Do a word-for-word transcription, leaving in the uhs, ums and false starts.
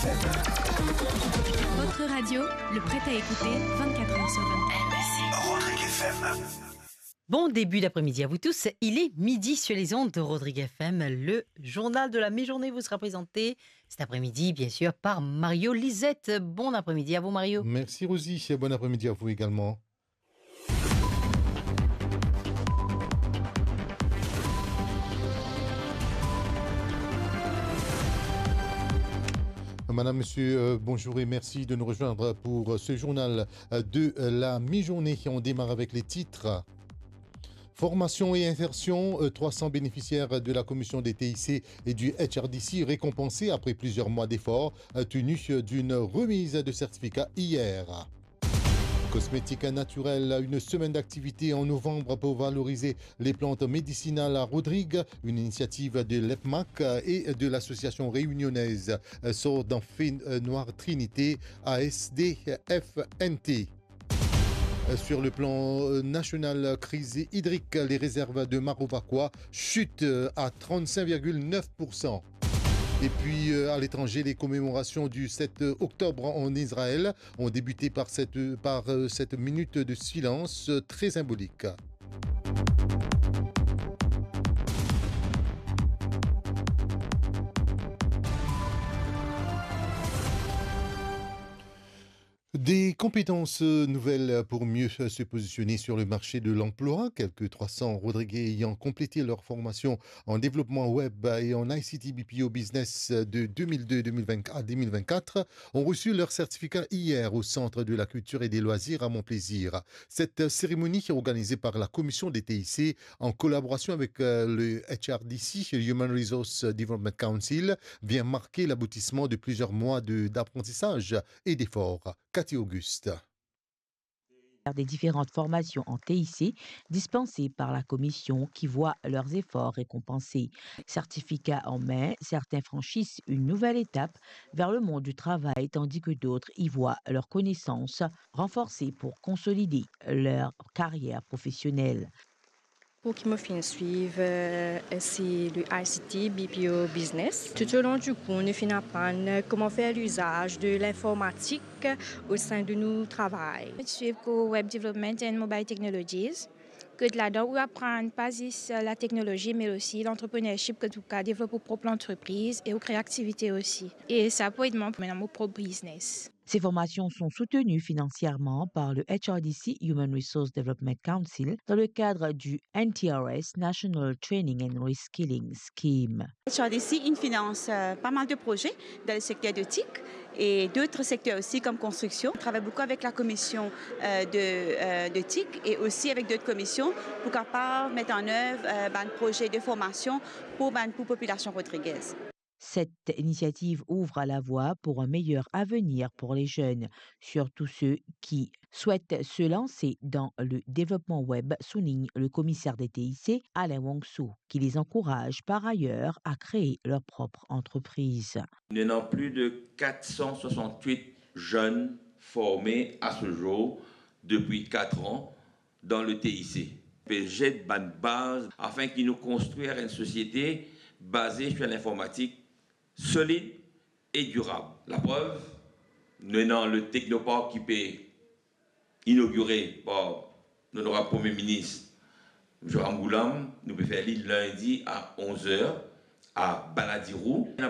Votre radio, le prêt à écouter, vingt-quatre heures sur vingt-quatre. Rodrigue F M. Bon début d'après-midi à vous tous. Il est midi sur les ondes de Rodrigue F M. Le journal de la mi-journée vous sera présenté cet après-midi, bien sûr, par Mario Lisette. Bon après-midi à vous, Mario. Merci, Rosie. Bon après-midi à vous également. Madame, Monsieur, euh, bonjour et merci de nous rejoindre pour, euh, ce journal, euh, de, euh, la mi-journée. On démarre avec les titres. Formation et insertion, euh, trois cents bénéficiaires de la commission des T I C et du H R D C récompensés après plusieurs mois d'efforts, euh, tenus d'une remise de certificat hier. Cosmétiques naturels, une semaine d'activité en novembre pour valoriser les plantes médicinales à Rodrigues, une initiative de l'EPMAC et de l'association réunionnaise Sort d'en Fée Noire Trinité, A S D F N T. Sur le plan, euh, national, crise hydrique, les réserves de Marovaquois chutent, euh, à trente-cinq virgule neuf pour cent. Et puis, euh, à l'étranger, les commémorations du sept octobre en Israël ont débuté par cette, par, euh, cette minute de silence, euh, très symbolique. Des compétences, euh, nouvelles pour mieux, euh, se positionner sur le marché de l'emploi. Quelques trois cents Rodriguais ayant complété leur formation en développement web et en I C T B P O Business de deux mille deux, deux mille vingt à deux mille vingt-quatre ont reçu leur certificat hier au Centre de la Culture et des Loisirs à Montplaisir. Cette cérémonie, organisée par la Commission des T I C en collaboration avec, euh, le H R D C, Human Resource Development Council, vient marquer l'aboutissement de plusieurs mois de, d'apprentissage et d'efforts. Cathy Auguste. Des différentes formations en T I C dispensées par la commission qui voit leurs efforts récompensés. Certificats en main, certains franchissent une nouvelle étape vers le monde du travail, tandis que d'autres y voient leurs connaissances renforcées pour consolider leur carrière professionnelle. Kour ki mo finn swiv, euh, se le I C T B P O Business. Tout au long du cours, nou finn aprann kouma fer lizaz de linformatik au sein de nou travay. Mo swiv kour Web Development and Mobile Technologies. Kot ladan ou aprann pa zis la teknolozi, me osi l'entrepreneurship, kot ou kapav devlop ou prop lantrepriz e ou kre aktivite osi. E sa pou ed mwa pou mene mo prop biznes. Ces formations sont soutenues financièrement par le H R D C Human Resource Development Council dans le cadre du N T R S, National Training and Reskilling Scheme. H R D C, il finance, euh, pas mal de projets dans le secteur de TIC et d'autres secteurs aussi comme construction. On travaille beaucoup avec la commission, euh, de, euh, de TIC et aussi avec d'autres commissions pour capable mettre en œuvre, euh, ben, un projet de formation pour, ben, pour population rodriguaise. Cette initiative ouvre la voie pour un meilleur avenir pour les jeunes, surtout ceux qui souhaitent se lancer dans le développement web, souligne le commissaire des T I C, Alain Wongso, qui les encourage par ailleurs à créer leur propre entreprise. Nous avons plus de quatre cent soixante-huit jeunes formés à ce jour depuis quatre ans dans le T I C. Pe zet bann baz afin ki nou konstrir enn sosiete baze sur linformatik solid e dirab. Laprev, nou ena le Technopark ki pe inogire par Onorab Premie Minis, Msye Ramgoolam, nou pe fer li lindi a onz er a Balladiroo. Ena